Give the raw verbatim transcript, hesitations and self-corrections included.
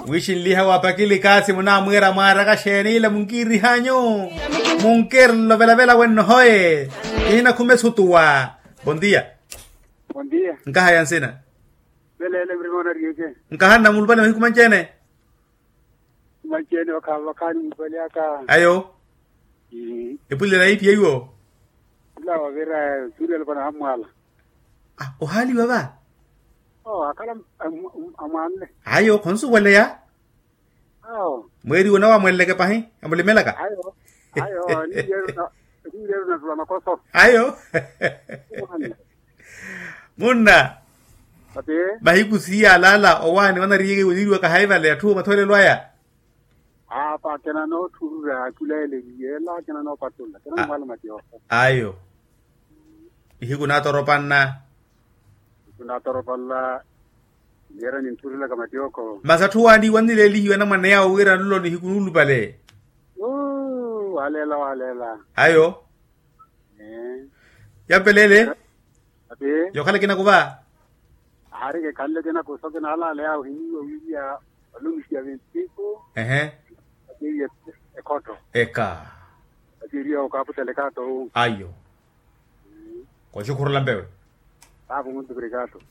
Wixinliha wa pakili kaasi munamwiira mwaaraka xeenila munkiirihanyu? Munkiirelo velavela wenno hoye. Kihinakhuma esutuwa. Bondia. Bondia. Nkahaya nsina. Veleele murima onariyeke. Nkahanna mulupale mahiku manci-ene. Manci-ene vakhaani mulupale aka. Ayo. Epulela ipi yaiwo? Ila wavira. Suriyelo vanahammwala. Ohaaliwa va? Akhala amwanle. Ayo khonsuweleya. Awo. Mweeri onawamweleleke pahi. Amulimelaka. Ayo. Ayo. Niireru natula makoso. Ayo. Munna. Mahiku siiya alaala owaani wanariyeke winiiriwaka hayi vale atthu mathoolelo aya. Apa akina noothurura akulaeleliye ela akina noopatula akina mwala matiooko. Ayo. Nihiku naatoropanna. Nihiku naatoropanla. Niyera ninthurulaka matiooko. Masi atthu waani wannileelihiwa anamwane yawo wira nlo nihiku nuulupale. Waleela waleela. Ayo. Yampeleele. Yookhala kinaku va? Aari kekhanle kinaku so kinaalaaleya ohiniiwa wiiriya. Olumisiya ventiku. Ehe. Akeeiye. Ekhotto. Eka. Akeeriya okaaputela ekaato. Ayo. Koxukhurula mpewe. Taapu muntu kuri ekaato.